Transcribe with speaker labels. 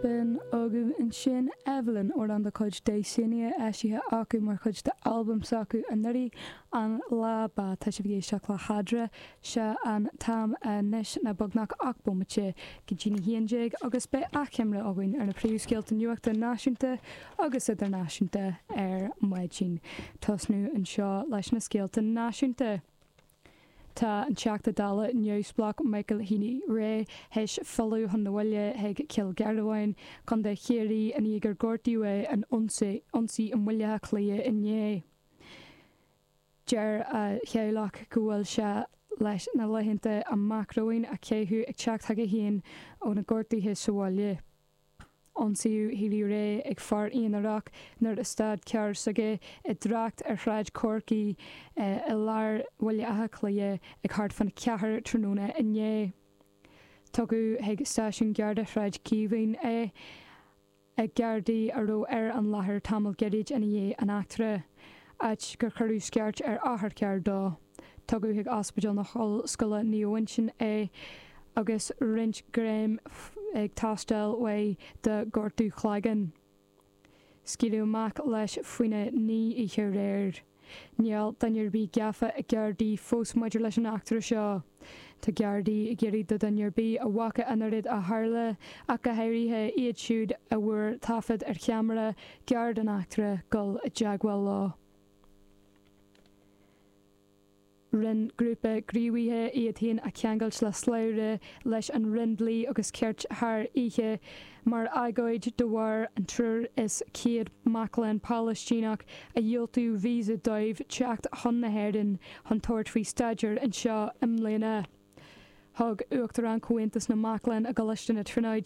Speaker 1: B'in agaibh ansin Evelyn, amhrán de chuid Dysania, eisithe acu mar chuid d'albam s'acu anuraidh, An Lá Ba. Tá sibh ag éisteacht le hEadra. Sé an t-am anois ná beagnach 8 bomaite go dtí'n 11 agus beidh achoimre againn ar na príomhscéalta nuachta náisiúnta agus idirnáisiúnta ar maidin. Tosnú anseo leis na scéalta náisiúnta. Tá an Teachta Dála neamhspleách Michael Healy-Rae théis filleadh chun na bhaile chuig Cill Gharbháin, Contae Chiarraí, i ndiaidh gur gortaíodh é in ionsaí i mBaile Átha Cliath inné. Deir a theaghlach go bhfuil sé leis na laethanta amach romhainn a chaitheamh ag teacht chuige féin ó na gortuithe sa bhaile. Ionsaíodh Healy-Rae ag fear aonarach nuair a stad carr s'aige i dtrácht ar Shráid Chorcaí i lár Bhaile Átha Cliath ag thart fán cheathair tráthnóna inné. Tugadh chuig Stáisiún Garda Shráid Chaomháin é ag Gardaí a raibh ar an láthair tamall gairid ina dhiaidh an eachtra, áit gur cuireadh scairt ar otharcharr dó. Tugadh chuig Ospidéal na hOllscoile Naomh Uinseann é agus roinnt greim ag teastáil uaidh de ghortú cloigeann. Scaoileadh amach leis faoina 9 oíche aréir. Níl duine ar bith gafa ag Gardaí fós maidir leis an eachtra seo. Tá Gardaí ag iarraidh do dhuine ar bith a bhfaca an rud a tharla, ach go háirithe iad siúd a bhfuair taifead ar cheamara gearr den eachtra, dul i dteagmháil leo. Rinne grúpa gníomhaithe iad féin a cheangailt le slabhra leis an Roinn Dlí agus Cirt thar oíche mar agóid de bharr an 103 mac léinn Palaistíneach a dhiúltaíodh visa dóibh teacht chun na hÉireann chun tabhairt faoi staidéar anseo i mbliana. Thug Uachtarán Chomhaontas na Mac Léinn i gColáiste na Tríonóide.